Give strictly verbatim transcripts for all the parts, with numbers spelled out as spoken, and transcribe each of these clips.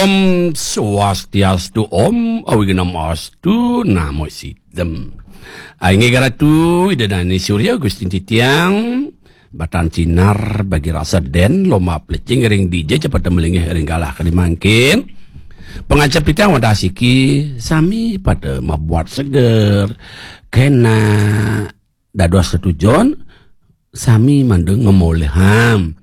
Om Swastiastu, Om Awighnam Astu, Namo Siddham. Inggih Ratu, Ida Dané Surya Gustin titiang, batan sinar bagi rasa dén, lomba plécing ring dija ja pada malinggih ring galah kadi mangkin. Pangacep titiang wantah siki, sami pada mabuat seger. Kénak dados tetujon, sami mangda ngamolihang.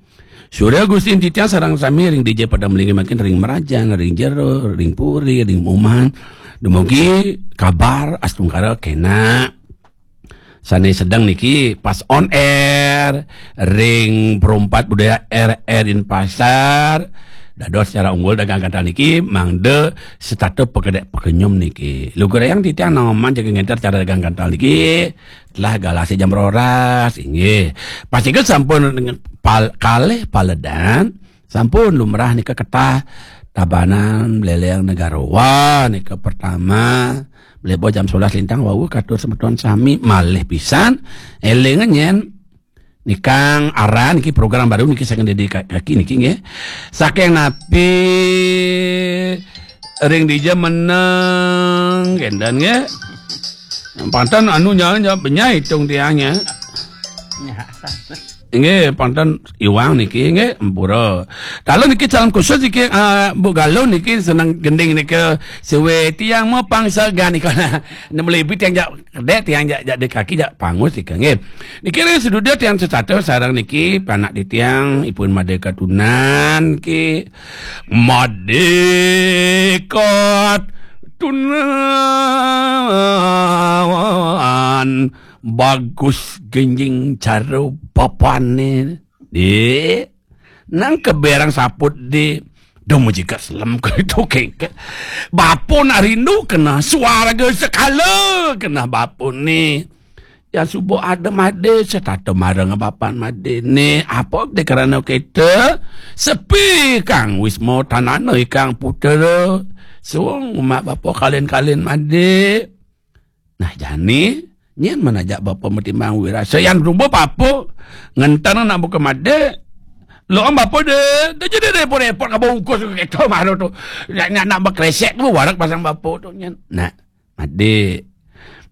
Surya Gustin titiang sareng sami ring dija pada malinggih mangkin ring mrajan, ring jero, ring puri, ring umahan. Dumugi kabar astungkara kénak. Sané sedeng niki pas on air ring Perumpat Budaya R R Denpasar. Dados cara unggul dagang gantal niki mangda setata pakedék pakenyum niki. Lugrayang titiang naenin jaga ngénter cara dagang gantal niki. Telah galah jam roras, inggih. Pastika sampun pal-, kalih paledan, sampun lumrah nika ketah Tabanan Bléléng Negara. Wah, nika pertama, mlebur jam sebelas lintang wau katur semeton sami malih pisan. Éling nyén nikang aran niki program baru niki saking Dédé Ka-, Kaki niki nggih. Saking napi ring dija meneng kénten nggih. Panten anu nya, nya benyai itung tiangnya. Nggih, panten iwang niki nggih, ampura. Kalau niki calon khusus niki, ah, Bu Galun niki seneng gending nika suwe tiang mapang sagan nika. Nemu lebih tiang jak kedék, tiang jak, jak di kaki jak pangus nika nggih. Niki ring seduda tiang setata sareng niki panak di tiang ipun Madé Katunan niki. Madé Katunan, bagus genjing cara bapané. Di nang keberang saput di. Duh, mujika selem ke itu kéngkén. Bapa nak rindu kena, suarga sekala kena bapa ni. Yang suba ada Madé, setata mareng bapan Madé ni. Apa deh kerana kita? Sepi kang wisma tanana ikang putera. Suung umat bapa kalin-kalin Madé. Nah, jani, nyén manajak bapa matimbang wirasa. Yang suba papa, ngénten nak buka Madé. Lo am bapa deh, deh jadi repot-repot ka bungkus kita malu tu. Nak, nak, nak bakresek tu, warak pasang bapa tu, nyén. Nah, Madé,